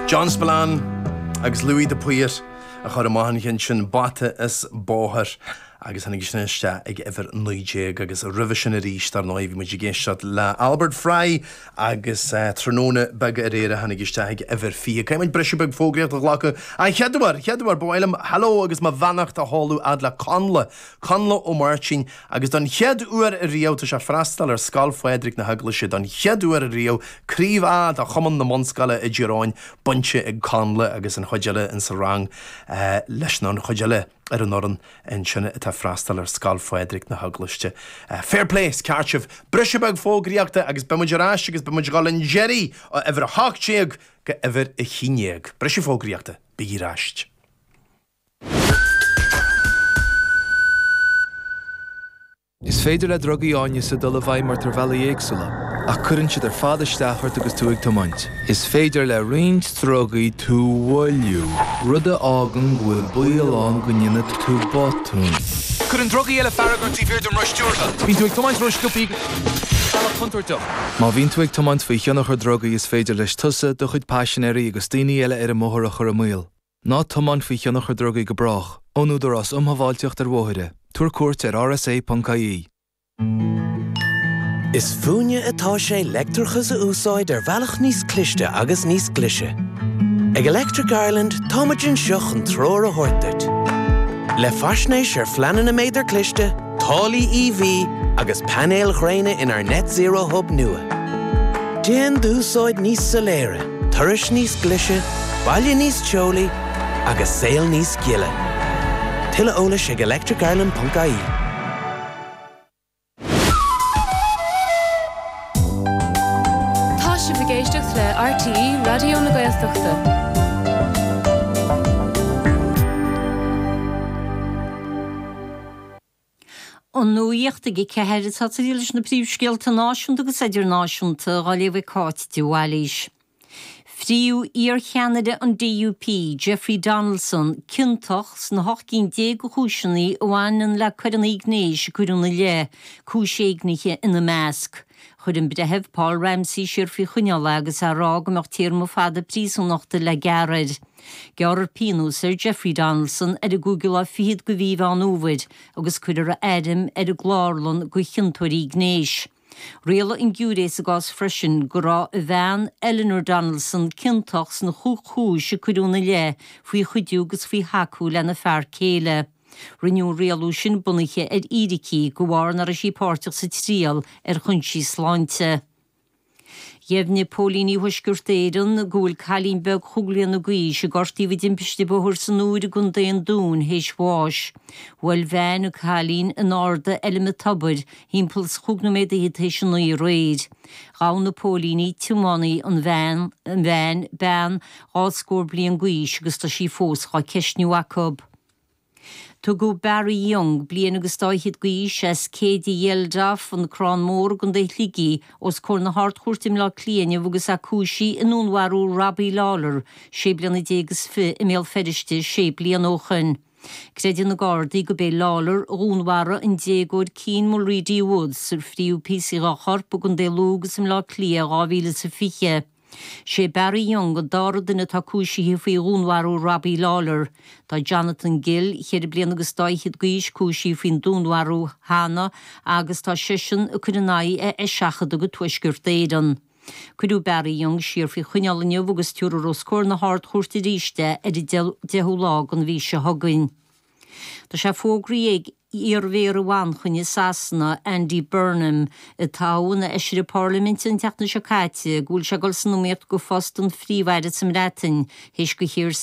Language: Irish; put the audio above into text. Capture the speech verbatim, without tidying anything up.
John Spillane agus Louis de Paor a chuir amach an ceann sin Bata is Bóthar agus tháinig sin isteach ag uimhir naoi déag agus roimhe sin arís dar ndóigh bhí muid ag éisteacht le Albert Fry agus uh, tráthnóna beag aréir a tháinig isteach ag uimhir fiche. Caithfidh muid briseadh beag fógraíocht a ghlacadh an chéad uair chéad uair ba mhaith liom hello agus mo bheannacht a sheoladh fhad le Connla Connla Ó Máirtín agus don chéad uair ariamh tá sé freastal ar Scoil Phádraig na hEaglaise don chéad uair ariamh Craobh A de Chumann na mBunscoileanna i dTír Eoghain bainte ag Connla agus an chuid eile in sa rang uh, leis an chuid eile ar an fhoireann ansin atá freastal ar Scoil Phádraig na hEaglaise. Uh, fair play ceart sibh briseadh beag fógraíochta agus beimid ar ais agus beimid ag dul an deiridh ó uimhir a hocht déag go uimhir a haon déag. Briseadh fógraíochta bí ar ais. Is féidir le drugaí áineasa dul i bhfeidhm ort ar bhealaí éagsúla, ach cuireann siad ar fad isteach ort agus tú ag tiomáint. Is féidir le roinnt drugaí tú a mhoilliú, rud a fhágann go bhfuil baol ann go ndéanfaidh tú botún. Cuireann drugaí eile fearg ort taobh thiar den roth stiúrtha. Bíonn tú ag tiomáint ró-sciobtha bealach contúirteach. Má bhíonn tú ag tiomáint faoi thionchar drugaí is féidir leis tusa do chuid paisinéirí agus daoine eile ar an mbóthar a chur i mbaol. Ná tiomáin faoi thionchar drugaí go brách, ón Údarás um Shábháilteacht ar Bhóithre. Tabhair cuairt ar rsa.ie. Is fúinne atá sé leictreachas a úsáid ar bhealach níos cliste agus níos glaise. Ag Electric Ireland táimid anseo chun treoir a thabhairt duit. Le faisnéis ar phleananna méadar cliste, táillí EV agus painéil ghréine inár Net Zero Hub nua. Déan d'úsáid níos soiléire, turais níos glaise, baile níos teolaí agus saol níos gile. Tuilleadh eolais ag electricireland.ie. Tá sibh ag éisteacht le RTÉ Raidió na Gaeltachta. An nuacht ag a ceathair atá leis na príomhscéalta náisiúnta agus idirnáisiúnta á léamh ag Cáit de Bhailís. Fríodh iarcheannaire an DUP, Jeffrey Donaldson, ciontach sna hocht gcinn déag de chúiseanna a bhaineann le coireanna gnéis a cuireadh ina leith, cúis éignithe ina measc. Chuir an breitheamh Paul Ramsey siar faoi choinneáil é agus é ag rá go mbeadh téarma fada príosúnachta le gearradh air. Gearrfar pionós ar Jeffrey Donaldson ar an gcúigiú lá fichead de mhí Mheán Fhómhair agus cuirfear a ainm ar an gclárlann do chiontóirí gnéis. Rialaigh an giúiré sa gcás freisin go raibh a bhean Eleanor Donaldson ciontach sna chúig chúis a cuireadh ina leith faoi chuidiú agus faoi thacú lena fear céile. Rinneadh an rialú sin bunaithe ar fhíricí de bharr nach raibh sí páirteach sa triail ar chúinsí sláinte. Dheimhnigh póilíní Thuaisceart Éireann go bhfuil cailín beag chúig bliana d'aois a gortaíodh i dtimpiste bóthair san Iúr i gContae an Dúin théis bháis. Bhuail veain an cailín in Arda Fheilm an Tobair thimpeall is chúig nóiméad fhichead théis a naoi aréir. Ghabh na póilíní tiománaí an veain an veain bean dhá scór bliain d'aois agus tá sí fós á ceistniú acu. Tugadh Barry Young, bliain agus dá fhichead d'aois as Céide Dheildeaf an Crann Mór i gContae Shligigh os comhair na hArd-Chúirte i mBleá Cliath inniu agus é cúisithe i ndúnmharú Robbie Lawler, sé bliana déag is fiche i mBéal Feirste sé bliana ó shin. Creideann na Gardaí gurb é Lawler a dhúnmharaigh an déagóir Cian Mulready Woods ar fríodh píosaí dá chorp i gContae Lú agus i mBleá Cliath dhá mhíle is a fiche. Sé Barry Young an dara duine atá cúisithe faoi dhúnmharú Robbie Lawler. Tá Jonathan Gill, ceithre bliana agus dá fhichead d'aois cúisithe faoin dúnmharú cheana agus tá seisean ag cur in aghaidh a eiseachadadh go Tuaisceart Éireann. Cuireadh Barry Young siar faoi choinneáil inniu agus tabharfar os comhair na hArd-Chúirte arís é ar an deichiú lá den mhí seo chugainn. Tá sé fógraithe ag iar-mhéara Mhanchain i Sasana, Andy Burnham, a toghadh ina fheisire parlaiminte an tseachtain seo caite, go bhfuil sé ag dul san iomaíocht do phost an phríomh-aire sa mBreatain, théis do Keir